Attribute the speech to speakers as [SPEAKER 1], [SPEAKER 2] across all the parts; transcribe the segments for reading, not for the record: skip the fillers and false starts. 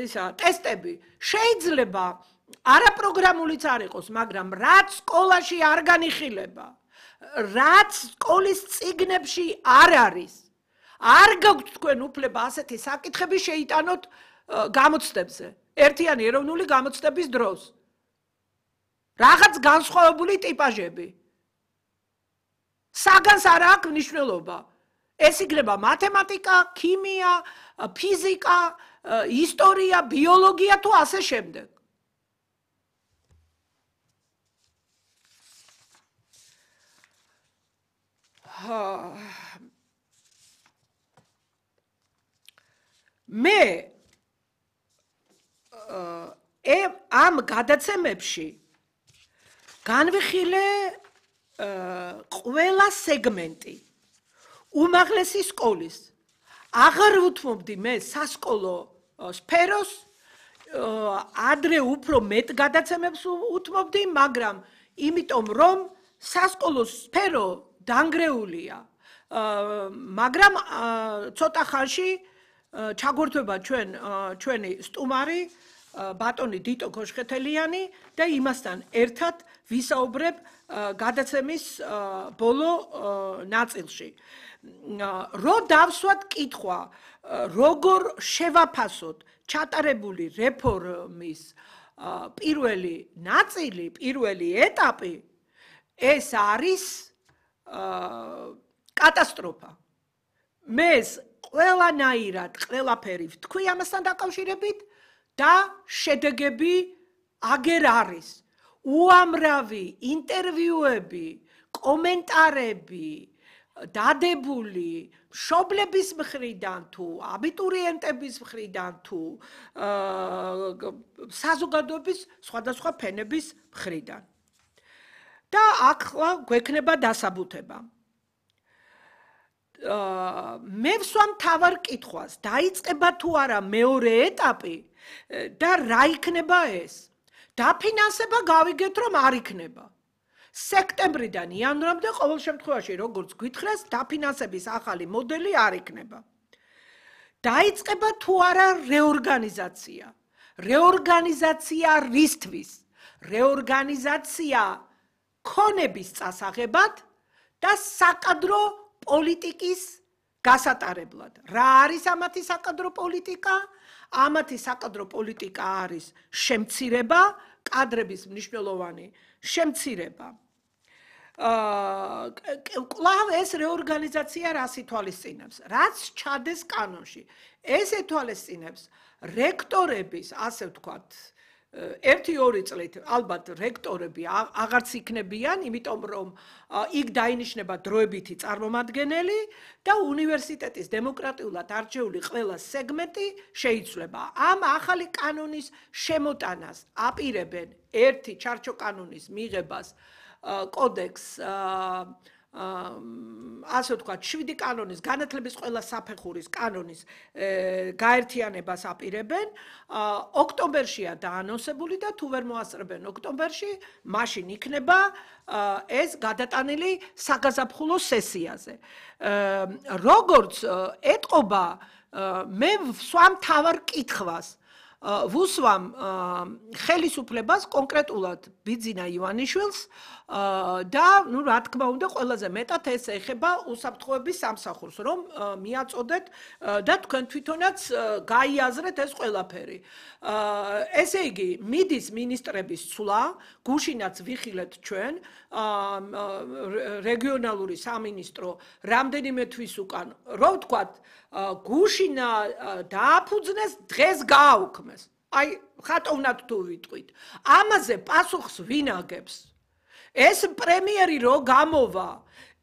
[SPEAKER 1] ისა ტესტები შეიძლება არაპროგრამულიც არ იყოს, მაგრამ რაც სკოლაში არ განიხილება, რაც სკოლის წიგნებში არ არის, არ გაქვთ თქვენ უფლება ასეთი საკითხები შეიტანოთ გამოცდებზე, ერთიანი ეროვნული გამოცდების დროს. რაღაც განსხვავებული ტიპაჟები. საგანს არ აქვს მნიშვნელობა. ეს იქნება მათემატიკა, ქიმია, ფიზიკა, ისტორია, ბიოლოგია თუ ასე შემდეგ. მე ამ გადაცემებში განვიხილე ყველა სეგმენტი უმაღლესი სკოლის. აღარ უთმობდი მე სასკოლო სფეროს, ადრე უფრო მეტ გადაცემებს უთმობდი, მაგრამ იმიტომ რომ სასკოლო სფერო დანგრეულია. მაგრამ ცოტა ხანში ჩაგვერთვება ჩვენი სტუმარი ბატონი დიტო ქოშხეთელიანი და იმასთან ერთად ვისაუბრებ გადაცემის ბოლო ნაწილში. რო დავსვათ კითხვა, როგორ შევაფასოთ ჩატარებული რეფორმის პირველი ნაწილი, პირველი ეტაპი, ეს არის კატასტროფა. მე ყველანაირად ყველაფერი ვთქვი ამასთან დაკავშირებით და შედეგები აგერ არის. უამრავი ინტერვიუები, კომენტარები, დადებული მშობლების მხრიდან თუ აბიტურიენტების მხრიდან თუ საზოგადოების სხვადასხვა ფენების მხრიდან. და ახლა გვექნება დასაბუთება. მე ვსვამ მთავარ კითხვას, დაიწყება თუ არა მეორე ეტაპი და რა იქნება ეს? დაფინანსება გავიგეთ, რომ არ იქნება. სექტემბრიდან იანვრამდე ყოველ შემთხვევაში, როგორც გითხრეს, დაფინანსების ახალი მოდელი არ იქნება. დაიწყება თუ არა რეორგანიზაცია? რეორგანიზაცია რისთვის? რეორგანიზაცია ქონების წასაღებად და საკადრო პოლიტიკის გასატარებლად. რა არის ამათი საკადრო პოლიტიკა? ამათი საკადრო პოლიტიკა არის შემცირება, კადრების მნიშვნელოვანი შემცირება. კვლავ ეს რეორგანიზაცია რას ითვალისწინებს? რაც ჩადეს კანონში. ეს ეთვალისწინებს რექტორების, ასე ვთქვათ, 1-2 წლით ალბათ რექტორები აღარც იქნებიან, იმიტომ რომ იქ დაინიშნება დროებითი წარმომადგენელი და უნივერსიტეტის დემოკრატიულად არჩეული ყველა სეგმენტი შეიცვლება. ამ ახალი კანონის შემოტანას აპირებენ ერთი ჩარჩო კანონის მიღებას, კოდექს, ასე ვთქვათ, 7 კანონის, განათლების ყველა საფეხურის კანონის გაერთიანებას აპირებენ. ოქტომბერშია დაანონსებული და თუ ვერ მოასწრებენ ოქტომბერში, მაშინ იქნება ეს გადატანილი საგაზაფხულო სესიაზე. როგორც ეტყობა, მე ვსვამ მთავარ კითხვას. ვუსვამ ხელისუფლებას კონკრეტულად ბიძინა ივანიშვილს და რა თქმა უნდა ყველაზე მეტად ეს ეხება უსაფრთხოების სამსახურს, რომ მიაწოდეთ და თქვენ თვითონაც გაიაზრეთ ეს ყველაფერი. ესე იგი, მიდის მინისტრების ცვლა, გუშინაც ვიხილეთ ჩვენ, რეგიონალური სამინისტრო რამდენიმე თვის უკან, რომ ვთქვათ, გუშინა დააფუძნეს, დღეს გააუქმეს. აი, ხატოვნად თუ ვიტყვით. ამაზე პასუხს ვინ აგებს? ეს პრემიერი რო გამოვა,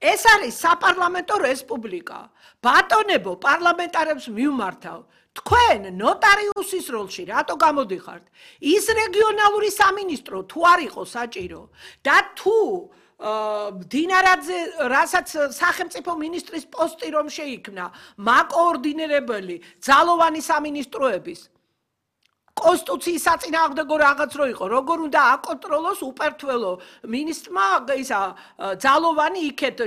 [SPEAKER 1] ეს არის საპარლამენტო რესპუბლიკა. ბატონებო, პარლამენტარებს მივმართავ. თქვენ ნოტარიუსის როლში რატო გამოდიხართ? ის რეგიონალური სამინისტრო თუ არ იყო საჭირო და თუ მდინარაძე, რასაც სახელმწიფო მინისტრის პოსტი რომ შეიქმნა, მაკოორდინირებელი ძალოვანი სამინისტროების კონსტიტუციის საწინააღმდეგო რაღაც რო იყო, როგორ უნდა აკონტროლოს უპერთველო მინისტრმა ისა ძალოვანი იქეთ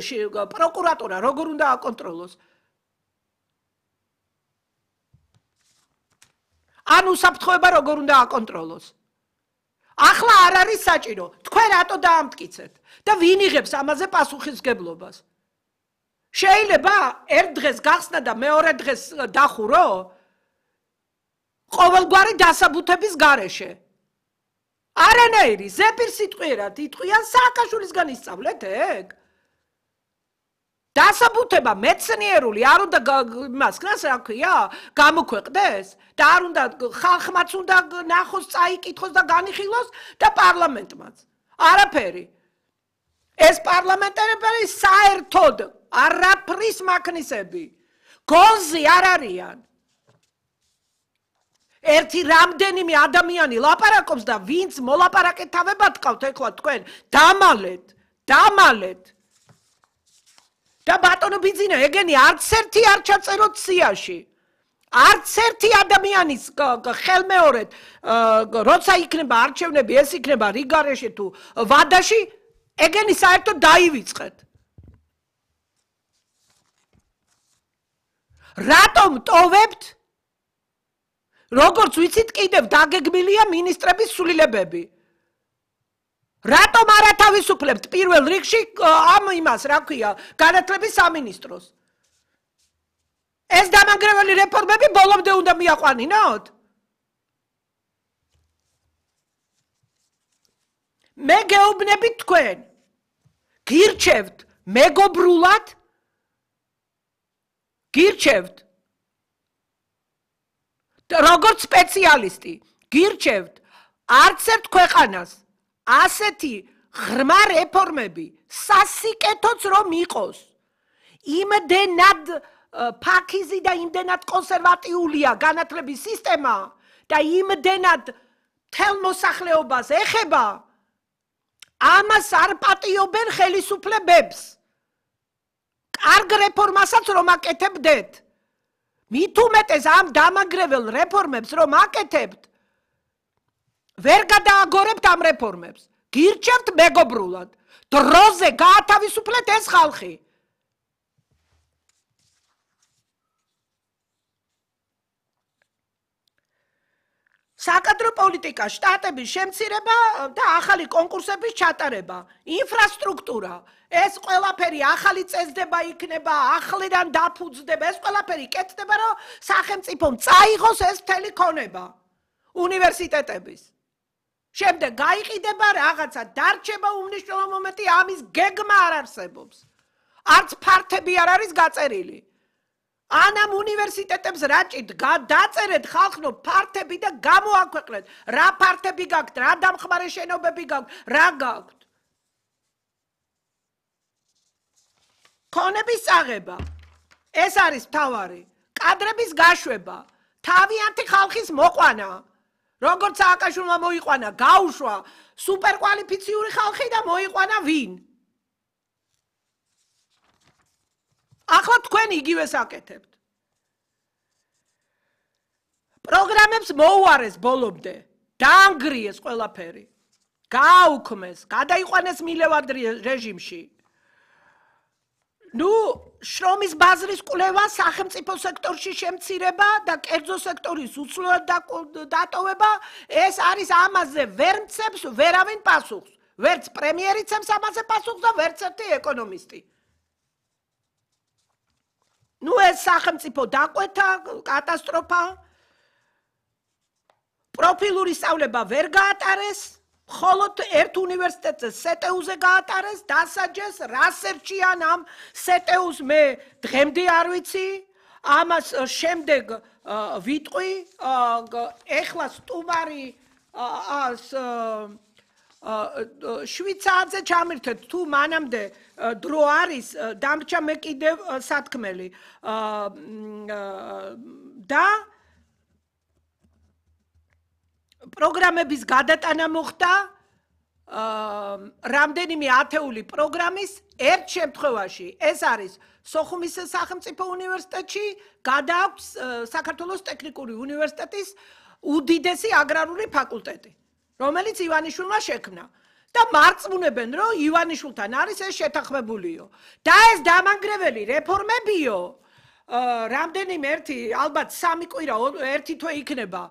[SPEAKER 1] პროკურატურა, როგორ უნდა აკონტროლოს? ან უსაფრთხოება როგორ უნდა აკონტროლოს. ახლა არ არის საჭირო. თქვენ რატო დაამტკიცეთ და ვინ იღებს ამაზე პასუხისმგებლობას? შეიძლება ერთ დღეს გახსნა და მეორე დღეს დახურო? ყოველგვარი დასაბუთების გარეშე. არანაირი ზეპირ სიტყვიერად იტყვიან სააკაშვილისგან ისწავლეთ ეგ. დასაბუთება მეცნიერული არ უნდა იმას რა ქვია გამოქვეყნდეს და არ უნდა ხალხმაც უნდა ნახოს წაიკითხოს და განიხილოს და პარლამენტმაც არაფერი ეს პარლამენტარები საერთოდ არაფრის მაქნისები გონზე არ არიან ერთი რამდენიმე ადამიანი ლაპარაკობს და ვინც მოლაპარაკეთავებად ყავთ ეხლა თქვენ დამალეთ და ბატონო ბიძინა ეგენი არც ერთი არ ჩაწეროთ სიაში არც ერთი ადამიანის ხელმეორედ როცა იქნება არჩევნები ეს იქნება რიგარეში თუ ვადაში ეგენი საერთოდ დაივიწყეთ რატომ ტოვებთ როგორც ვიცით კიდევ დაგეგმილია მინისტრების სულილებები რატომ არ ათავისუფლებთ პირველ რიგში ამ იმას რა ქვია განათლების სამინისტროს ეს დამანგრეველი რეფორმები ბოლომდე უნდა მიაყვანინოთ მე გეუბნებით თქვენ გირჩევთ მეგობრულად გირჩევთ როგორც სპეციალისტი გირჩევთ არც ერთ ქვეყანას ასეთი ღრმა რეფორმები სასიკეთოც რომ იყოს იმდენად ფაქიზი და იმდენად კონსერვატიულია განათლების სისტემა და იმდენად მთელ მოსახლეობას ეხება ამას არ პატიობენ ხელისუფლებებს კარგ რეფორმასაც რომ აკეთებდეთ მით უმეტეს ამ დამანგრეվել რეფორმებს რომ აკეთებთ ვერ გადააგორებთ ამ რეფორმებს გირჩევთ მეგობრულად დროზე გაათავისუფლეთ ეს ხალხი საკადრო პოლიტიკა შტატების შემცირება და ახალი კონკურსების ჩატარება ინფრასტრუქტურა ეს ყველაფერი ახალი წესდება იქნება ახლიდან დაფუძდება ეს ყველაფერი კეთდება რომ სახელმწიფომ წაიღოს ეს მთელი ქონება უნივერსიტეტების შემდეგ გაიყიდება რაღაცა დარჩება უმნიშვნელო მომენტი ამის გეგმა არ არსებობს არც ფართები არ არის გაწერილი ან ამ უნივერსიტეტებს რაჭით დაწერეთ ხალხო ფართები და გამოაქვეყნეთ რა ფართები გაქვთ რა დამხმარე შენობები გაქვთ რა გაქვთ ქონების წაღება ეს არის მთავარი კადრების გაშვება თავიანთი ხალხის მოყვანა როგორც სააკაშვილმა მოიყვანა გაუშვა სუპერკვალიფიციური ხალხი და მოიყვანა ვინ ახლა თქვენ იგივეს აკეთებთ პროგრამებს მოუარეს ბოლომდე დაანგრიეს ყველაფერი გააუქმეს გადაიყვანეს მილევად რეჟიმში შრომის ბაზრის კვლევა სახელმწიფო სექტორში შემცირება და კერძო სექტორის უცვლელად დატოვება ეს არის ამაზე ვერ მცემს ვერავინ პასუხს ვერც პრემიერი ცემს ამაზე პასუხს და ვერც ერთი ეკონომისტი ეს სახელმწიფო დაკვეთა კატასტროფა პროფილური სწავლება ვერ გაატარეს მხოლოდ ერთ უნივერსიტეტზე სეტეუზე გაატარეს დასაჯეს რასერჩიან ამ სეტეუს მე დღემდე არ ვიცი ამას შემდეგ ვიტყვი ეხლა სტუმარი შვიცარზე ჩამირთეთ თუ მანამდე დრო არის დამრჩა მე კიდევ სათქმელი და პროგრამების გადატანა მოხდა რამდენიმე ათეული პროგრამის ერთ შემთხვევაში ეს არის სოხუმის სახელმწიფო უნივერსიტეტში გადააქვს საქართველოს ტექნიკური უნივერსიტეტის უდიდესი აგრარული ფაკულტეტი რომელიც ივანიშვილმა შექმნა და მარწმუნებენ რომ ივანიშვილთან არის ეს შეთანხმებულიო და ეს დამანგრეველი რეფორმებიო რამდენიმე ერთი ალბათ 3 კვირა ერთი თვე იქნება